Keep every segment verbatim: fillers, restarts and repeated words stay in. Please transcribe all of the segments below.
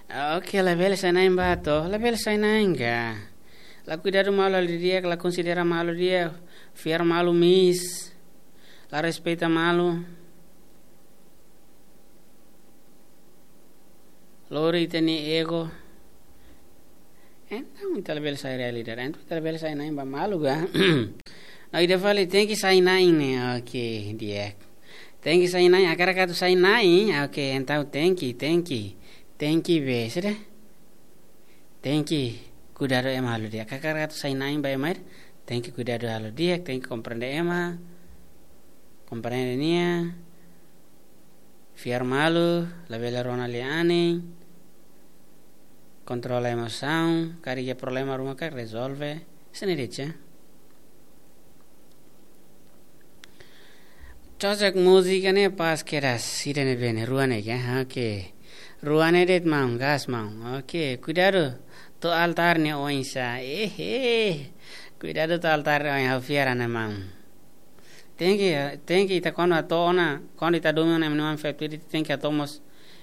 Oke, labele sai-na'in ba to, labele sai-na'in ka. La kuidadu malu halo di'ak, la konsidera malu di'ak, fiar malu miss, la respeita malu. Lori ita-nia ego. Entaun ita labele sai realidade, entaun ita labele sai-na'in ba malu ka. No ida fali tenke sai-na'in ne'e, oke, di'ak. Tenke sai-na'in, hakarak atu sai-na'in, oke, entaun tenke, tenke, tenke be, sudah. Tenke kuidadu ema halo di'ak. Hakarak atu sai-na'in ba ema ida, tenke kuidadu halo di'ak, tenke komprende ema, komprende nia, fiar malu, labele rona lia-anin, kontrola emosaun, karik iha problema ruma karik rezolve, sini de'it. Cocok múzika ne'e pas kedas, ida-ne'ebé ne'e, rua ne'e ka? Oke. Rua ne'e de'it maun, gas maun. Oke, kuidadu to'o altár nia oinsá. Eh, eh. Kuidadu to'o altár nia oin, ha'u fiar ona maun. Tenke, tenke ita kuandu atu ona, kuandu ita domin ona ema nia oan feto ida, tenke atu mós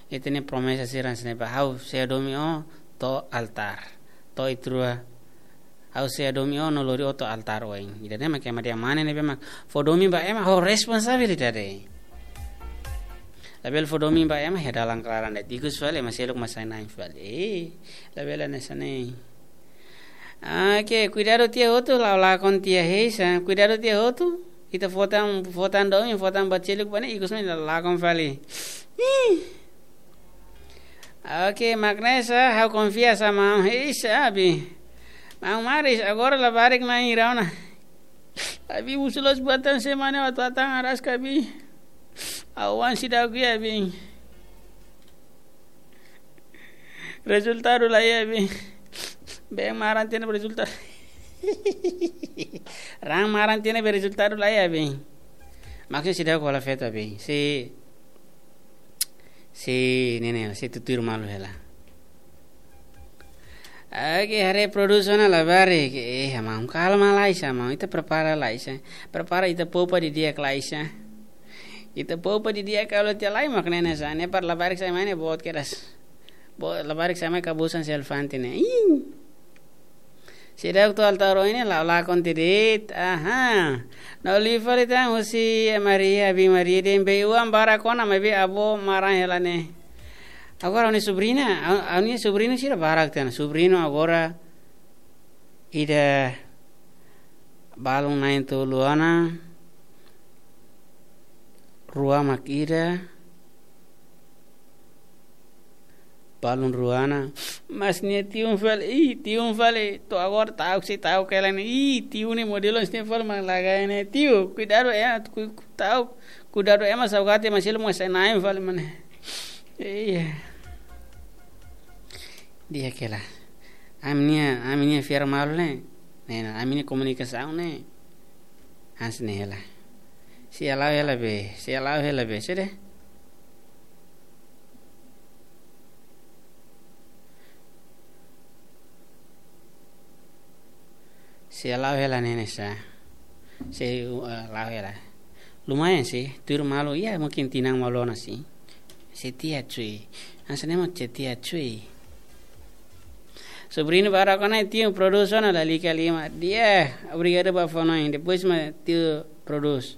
ita-nia promesa sira hanesan ne'ebá, ha'u sei domin ó to'o altár. To'o iha rua. Ha'u sei domin ó no lori ó to'o altár oin. Ida-ne'e mak ema di'ak, mane ne'ebé mak fó domin ba ema ho responsabilidade. Labele fó domin ba ema iha dalan klaran de'it. Ikus fali ema seluk mak sai-na'in fali. Eh, labele hanesan ne'e. Oke, kuidadu tiha hotu, la'o lakon tiha heisa. Kuidadu tiha hotu. Ita fó tan, fó tan domin, fó tan ba seluk ba ne'e, ikus mai la'o lakon fali. Ih. Oke, mak ne'e sá, ha'u konfia sá maun. Heisa, abi. Maun Maris, agora labarik na'in rona. Abi, husu loos buat tan semana, atu atan araska, abi. Awan sida oke, abi. Rezultadu laiha, abi. Been maran tiha ne'ebé rezultadu. Raan maran tiha ne'ebé rezultadu laiha, abi. Maksudnya sida kola feto, abi. Si, si ne'e ne'e, si tutuir malu hela. Oke, haree produs ona labarik. Eh, maun, kalma lai sá, maun. Ita prepara lai sá. Prepara ita poupa didi'ak lai sá. Ita poupa didi'ak, kalau tiha lai mak ne'e sá. Ne'e para labarik sai mai ne'e boot kedas. Bo-, labarik sai mai kabusan si elefante ne'e. Ih. Seidauk to'o altár oin ne'e, la'o lakon tiha de'it. Aha. No liu fali tan husi Maria, abi Maria dehan bee-uan barak ona, maibé avó maran hela ne'e. Agora ha'u-nia sobrina, ha'u, ha'u-nia sobrinu sira barak tan. Sobrinu agora ida balun na'in-tolu ona, rua mak ida, balun rua ona, mas nia tiun fali, ih, tiun fali, to'o agora ta'uk sei ta'uk hela ne'e, ih, tiun ne'e modelu hanesan ne'e fali mak lagai ne'e, tiu, kuidadu ema, ku-, ku-, ta'uk, kuidadu ema saugati ema seluk mak sai-na'in fali mak ne'e. Iya. Di'ak hela. Ami-nia, ami-nia fiar malu ne'e. Ne'e, ami-nia komunikasaun ne'e. Hanesan ne'e hela. Sei la'o hela be, sei la'o hela be, sudah. Sei la'o hela ne'e sá. Sei, eh, la'o hela. Lumayan sih, tuir malu, ya mungkin tinan malu ona sih. Setia cuy. Hanesan ne'e mak setia cuy. Sobrinu barak ona, tiu, produs ona, lalika liman. Di'ak, obrigadu ba fó-hanoin. Depois mak tiu produs.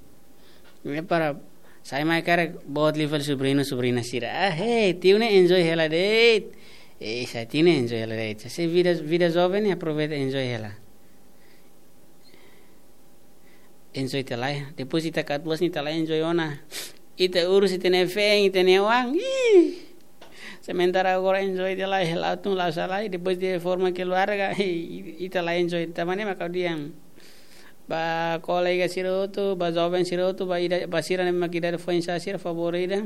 Ne'e para sai mai karik boot liu fali sobrinu, sobrina sira. Ah, hei, tiu ne'e enjoy hela de'it. Eh, sai tiu ne'e enjoy hela de'it. Se vida, vida joven ne'e aproveita enjoy hela. Enjoy tiha lai. Depois ita katuas ne'e ita la enjoy ona. Ita urus ita-nia feen, ita-nia oan. Ih. Sementara agora enjoy tiha lai, la'o tun la'o sa'e lai, depois de forma keluarga, ita la enjoy. Tanba ne'e mak ha'u dehan. Ba kolega sira hotu, ba joven sira hotu, ba ida, ba sira ne'ebé mak idade foin-sa'e sira, favór ida.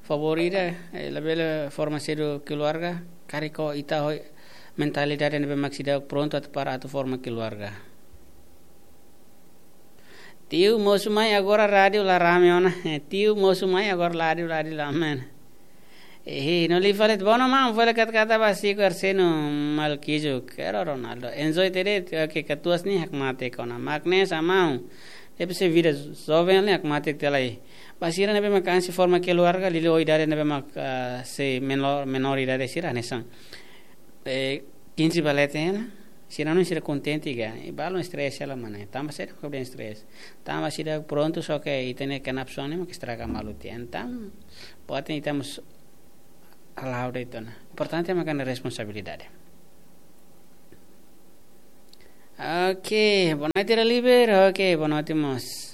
Favór ida, eh, labele forma sedu keluarga, karik ho ita ho mentalidade ne'ebé mak seidauk prontu atu para atu forma keluarga. Tiu, mosu mai agora rádiu la rame ona. Tiu, mosu mai agora rádiu, rádiu la rame ona. Ehi, no liu fali tan, bom, maun, fó hela katak-katak ba Zico, Arseno, Malquijo, Quero Ronaldo. Enjoy tiha de'it, oke, katuas ne'e hakmatek ona. Mak ne'e sá maun. Depois se vida joven ne'e, mate tela aí. Ba sira ne'ebé mak kansi forma keluarga, liuliu idade ne'ebé mak, ah, sei menor, menor idade sira, hanesan, eh, kinze ba leten hela, sira no sira kontente ga, i balun stress hela mana, tanba sira ko den stress. Tanba sira prontu só ke ita-nia kenap sone mak estraga malu tiha. Entaun, buat ne'e ita mós hala'o de'it ona. Importante mak kan responsabilidade. Ok, boa noite, Deliver. Ok, boa noite, mós.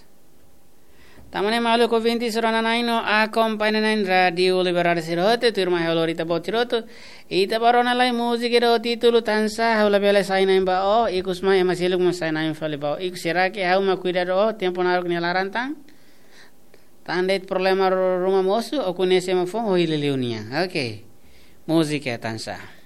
Tama ne'e maluk ouvinte sira-nia na'in no akompaña na'in Rádiu Liberdade sira hotu, tuirmai halo ita-boot sira hotu. Ita bá rona lai múzika ho títulu Tansá, ha'u labele sai na'in ba ó, ikus mai ema seluk mós sai na'in fali ba ó. Ikus será que ha'u mak kuidadu ó, tempu naruk nia laran tan? Tan de'it problema ru-, ruma mosu, ó koñese ema foun, ó hili liu nia. Ok. Múzika Tansá.